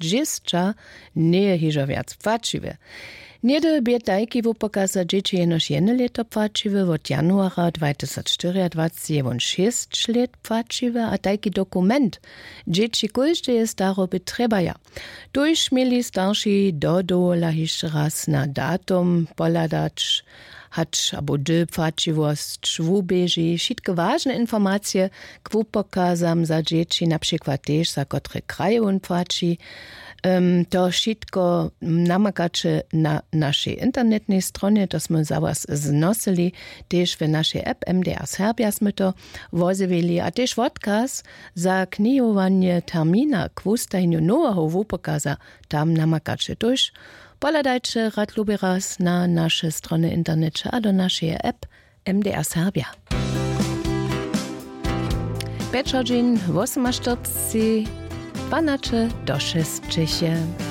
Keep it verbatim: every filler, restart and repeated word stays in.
dźěsća njeje hižo wjac płaćiwy. Něhdy bě tajki wupokaz za dźěći jenož jedne lěto płaćiwy, wot januara dwajtysacštyriadwaceći je wón šěsć lět płaćiwy a tajki dokument dźěći kóždeje staroby trjebaja. Tuž měli starši dodowola hišće raz na datum pohladać, hač abo hdy płaćiwosć wuběži, wšitke wažne informacije k wupokazam za dźěći, na přikład tež za kotre kraje wón płaći. To wšitko namakaće na našej internetnej stronje, to smy za was znosyli. Tež w našej app mdr serbja smy to wozjewili a tež wotkaz za knihowanje termina k wustajenju noweho wupokaza tam namakaće tuž. Pohladajće rad lubi raz na naše strony w interneće a do našeje app mdr serbja. Pjeć hodźin wosomaštyrceći, dwanaće do šesćeće.